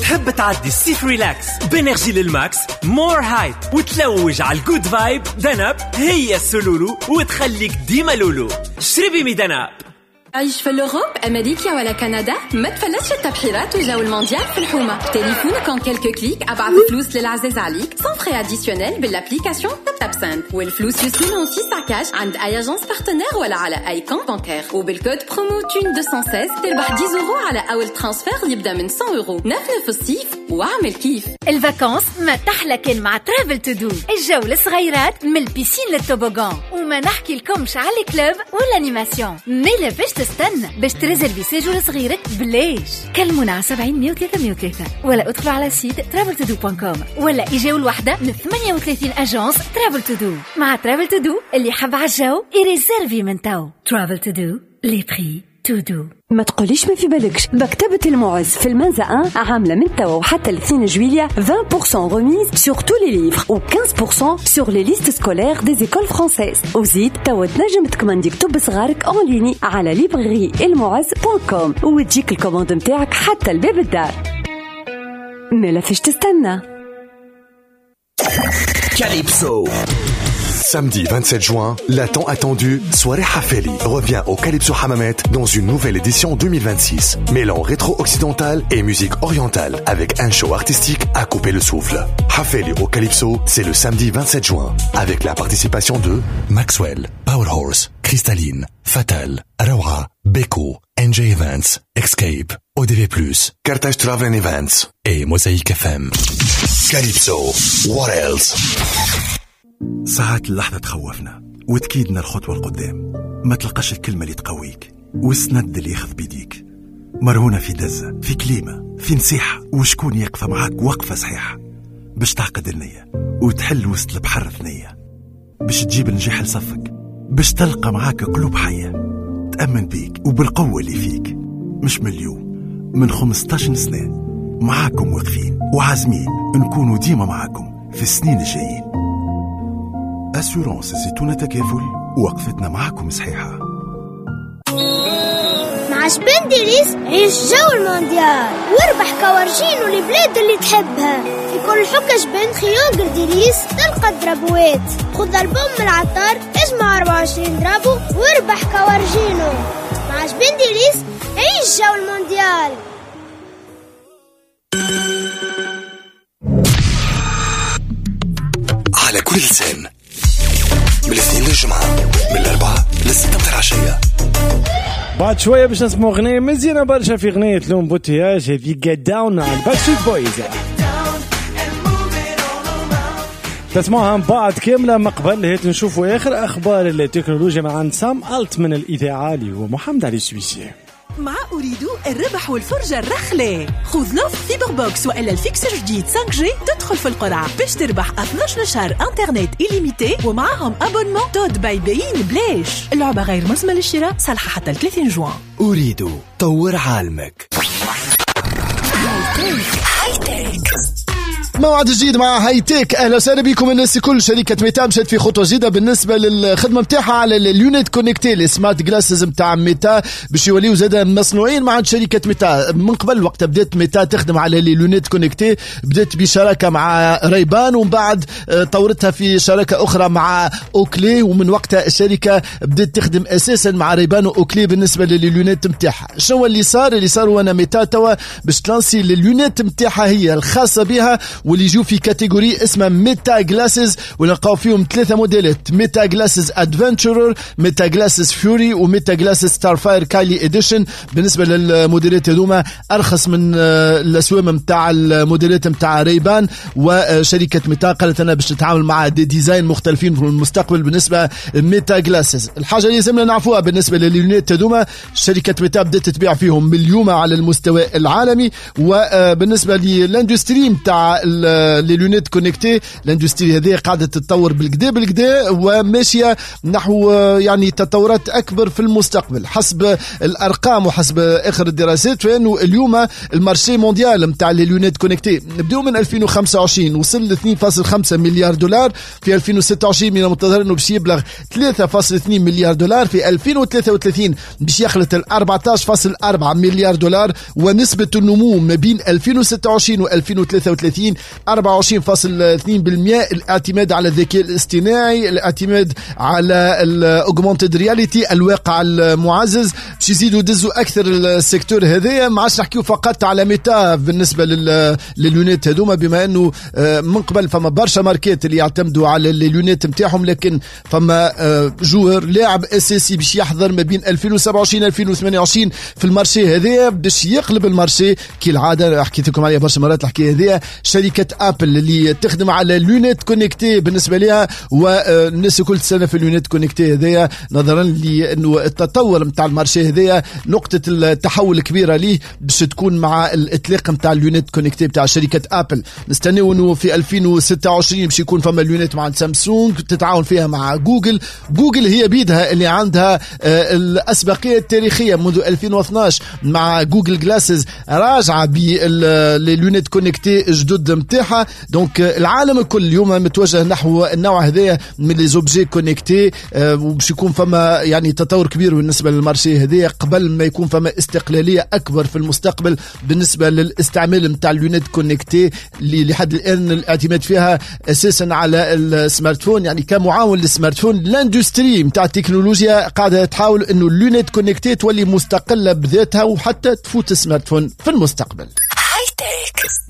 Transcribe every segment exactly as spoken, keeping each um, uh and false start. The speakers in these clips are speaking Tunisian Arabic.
تحب تعدي الصيف relax ب énergie لل max more hype وتلوج على ال good vibe؟ دنب هي السلولو وتخليك ديما لولو. شربي مي دنب. عيش في l'Europe، امريكا ولا كندا، ما تفلتش التبحيرات وجو المونديال في الحومه. تليفونك en quelques clics ابعث فلوس للعزاز عليك sans frais additionnels بال application Taptap Send، والفلوس يوصلوا في ساعة كاش عند اي agence partenaire ولا على اي compte bancaire. وبال code promo TUN مئتين وستة عشر تربح عشرة اورو على اول transfert اللي يبدا من مية اورو. نفنف الصيف واعمل كيف. ال vacances ما تحلى كان مع Travel To Do، الجو للصغيرات من ال piscine لل toboggan، وما نحكي لكمش على ال club وال animation. ميلا باش تستنى باش تريزرفي séjour صغيرك بلاش. كلمونا على سبعين مية وثلاثة مية وثلاثة ولا ادخلوا على site Travel To Do point com ولا اجاو الوحدة من ثمانية وثلاثين agence Travel To Do. مع Travel To Do اللي حب على الجو يريزرفي من تو. Travel To Do، les prix tout doux. ما تقوليش ما في بالكش، مكتبة المعز في المنزه واحد عاملة من توا وحتى الاثنين جويلية عشرين بالمية remise sur tous les livres و خمسة عشر بالمية sur les listes scolaires des écoles françaises. وزيد توا تنجم تكمندي كتب صغارك en ligne على librairie المعز point com وتجيك ال commande نتاعك حتى لباب الدار. مالا فاش تستنى؟ Calypso. Samedi vingt-sept juin, la tant attendue Soirée Hafeli revient au Calypso Hammamet dans une nouvelle édition deux mille vingt-six, mêlant rétro-occidental et musique orientale avec un show artistique à couper le souffle. Hafeli au Calypso, c'est le samedi vingt-sept juin, avec la participation de Maxwell, Power Horse, Cristalline, Fatal, Rawa, Beko, N J Events, Escape, O D V plus, Carthage Travel and Events et Mosaïque F M. Calypso, what else? ساعات اللحظة تخوفنا وتكيدنا الخطوة القدام، ما تلقاش الكلمة اللي تقويك والسند اللي ياخذ بيديك. مرهونة في دزة، في كليمة، في نصيحة، وشكون يقف معاك وقفة صحيحة باش تعقد النية وتحل وسط البحر ثنية، باش تجيب النجاح لصفك، باش تلقى معاك قلوب حية تأمن بيك وبالقوة اللي فيك. مش من اليوم، من خمستاشر سنة معاكم واقفين وعازمين نكونوا ديما معاكم في السنين الجايين. assurance زيتونة تكافل، وقفتنا معاكم صحيحة. مع جبن ديليس عيش جو المونديال واربح كوارجين والبلاد اللي تحبها. في كل حكة جبن خيوغر ديليس تلقى درابوات. خذ البوم من العطار، اجمع أربعة وعشرين drapeau واربح كوارجينو. مع جبن ديليس عيش جو المونديال. على كل لسان من الاثنين للجمعة من الأربعة للستة متاع العشية. بعد شوية باش نسمعوا أغنية مزيانة برشا في أغنية l'embouteillage، هذه Get Down على Backstreet Boys. تسمعوها من بعد كاملة. ما قبل هيت نشوفوا آخر أخبار التكنولوجيا مع عند سام ألت من الإذاعة اللي هو محمد علي السويسي. مع أريدو الربح والفرجة الرخلة. خذ l'offre fibre box وإلا ال fixe جديد خمسة G تدخل في القرعة باش تربح اثناش شهر انترنت illimité ومعاهم abonnement TOD by beIN بلاش. اللعبة غير ملزمة للشراء، صالحة حتى ثلاثين جوان. أريدو طور عالمك. موعد جديد مع high-tech. اهلا وسهلا بكم الناس الكل. شركة ميتا مشات في خطوة جديدة بالنسبة للخدمة نتاعها على les lunettes connectées، les smart glasses نتاع ميتا باش يوليو زاد مصنوعين مع شركة ميتا. من قبل وقت بدات ميتا تخدم على les lunettes connectées بدات بشراكه مع ريبان، ومن بعد طورتها في شراكة اخرى مع اوكلي، ومن وقتها الشركة بدات تخدم اساسا مع ريبان واوكلي بالنسبة ل les lunettes نتاعها. شنو اللي صار؟ اللي صار هو ان ميتا توا باش تلانسي les lunettes نتاعها هي الخاصة بها واللي يجوا في catégorie اسمها Meta Glasses، ونلقاو فيهم ثلاثة موديلات: Meta Glasses Adventurer، Meta Glasses Fury، و Meta Glasses Starfire Kylie Edition. بالنسبة للموديلات هذوما ارخص من الاسوام نتاع الموديلات نتاع ريبان، وشركه ميتا قالت انا باش نتعامل مع des designs مختلفين في المستقبل بالنسبة Meta Glasses. الحاجة اللي لازمنا نعرفوها بالنسبة لل lunettes هذوما، شركة ميتا بدات تبيع فيهم من اليوم على المستوى العالمي. وبالنسبة لل industrie نتاع les lunettes connectées. l'industrie هذه قاعدة تتطور بالكدا بالكدا وماشية نحو يعني تطورات اكبر في المستقبل. حسب الارقام وحسب اخر الدراسات فانه اليوم ال marché mondial نتاع les lunettes connectées نبداو من ألفين وخمسة وعشرين وصل ل اثنين فاصل خمسة مليار دولار، في ألفين وستة وعشرين من المنتظر انه باش يبلغ ثلاثة فاصل اثنين مليار دولار، في ألفين وثلاثة وثلاثين باش يخلط ال أربعة عشر فاصل أربعة مليار دولار، ونسبة النمو ما بين ألفين وستة وعشرين و ألفين وثلاثة وثلاثين أربعة وعشرين فاصل اثنين بالمئة. الاعتماد على الذكاء الاصطناعي، الاعتماد على ال augmented reality، الواقع المعزز، باش يزيدوا يدزوا اكثر ال secteur هذايا. ما عادش نحكيو فقط على ميتا بالنسبة لل lunettes هذوما، بما انه من قبل فما برشا ماركات اللي يعتمدوا على ال lunettes نتاعهم، لكن فما joueur لاعب اساسي باش يحضر ما بين ألفين وسبعة وعشرين ألفين وثمانية وعشرين في ال marché هذايا باش يقلب ال marché كالعادة. حكيت لكم عليها برشا مرات الحكاية هذيا، شركة ابل اللي تخدم على lunettes connectées بالنسبة لها، والناس كل سنة في lunettes connectées هذايا، نظرا لانه التطور نتاع ال marché هذايا نقطة التحول الكبيرة ليه باش تكون مع الاطلاق نتاع lunettes connectées نتاع شركة ابل. نستناو انه في ألفين وستة وعشرين باش يكون فما lunettes مع سامسونج تتعاون فيها مع جوجل. جوجل هي بيدها اللي عندها الاسبقيه التاريخية منذ ألفين واثناش مع Google Glasses، راجعه بال lunettes connectées جدد نتاعها. donc العالم الكل اليوم متوجه نحو النوع هذايا من les objets connectés، وباش يكون فما يعني تطور كبير بالنسبة لل marché هذايا قبل ما يكون فما استقلالية اكبر في المستقبل بالنسبة للاستعمال نتاع ال lunettes connectées اللي لحد الان الاعتماد فيها اساسا على ال smartphone، يعني كمعاون لل smartphone. l'industrie نتاع التكنولوجيا قاعدة تحاول انه ال lunettes connectées تولي مستقلة بذاتها وحتى تفوت ال smartphone في المستقبل.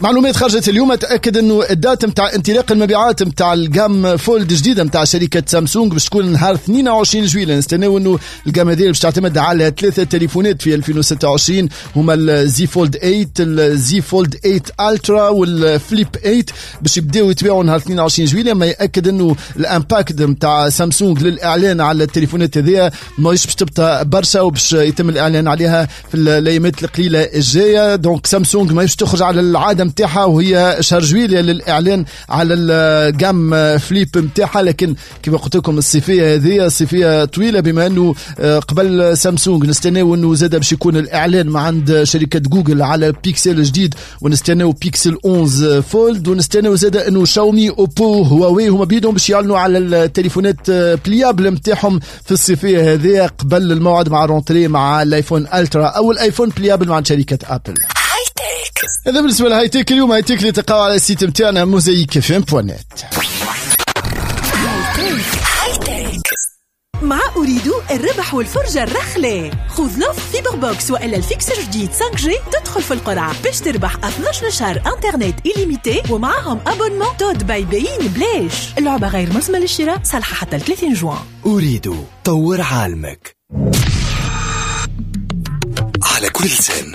معلومات خرجت اليوم تأكد انه ال date نتاع انطلاق المبيعات نتاع ال gamme Fold جديدة نتاع شركة سامسونج باش تكون نهار اثنين وعشرين جويلية. نستناو انه ال gamme هذه باش تعتمد على ثلاثة تليفونات في ألفين وستة وعشرين، هما ال Z Fold ثمانية، ال Z Fold ثمانية Ultra، وال Flip ثمانية، باش يبداو يتباعوا نهار اثنين وعشرين جويلية. ما ياكد انه ال impact نتاع سامسونج للاعلان على التليفونات هذه ماهيش باش تبقى برشا وباش يتم الاعلان عليها في الايامات القليلة الجاية. donc سامسونج ماهيش تخرج على العادة نتاعها وهي شهر جويلية للاعلان على ال gamme Flip نتاعها، لكن كما قلت لكم الصيفية هذه صيفية طويلة، بما انه قبل سامسونج نستناو انه زاد باش يكون الاعلان مع عند شركة جوجل على بيكسل جديد، ونستناو بيكسل أحد عشر Fold، ونستناو زاد انه شاومي، اوبو، هواوي هما بيدهم باش يعلنوا على التليفونات pliables نتاعهم في الصيفية هذه قبل الموعد مع rentrée مع الايفون Ultra او الايفون pliable مع شركة ابل. هذا بالنسبة ل high-tech اليوم. high-tech اللي تلقاو على ال site نتاعنا موزايك اف ام دوت نت. مع أريدو الربح والفرجة الرخلة، خذ l'offre fibre box وإلا ال fixe جديد خمسة G تدخل في القرعة باش تربح اثناش شهر انترنت illimité ومعاهم abonnement TOD by beIN بلاش. اللعبة غير ملزمة للشراء، صالحة حتى ثلاثين جوان. أريدو طور عالمك. على كل لسان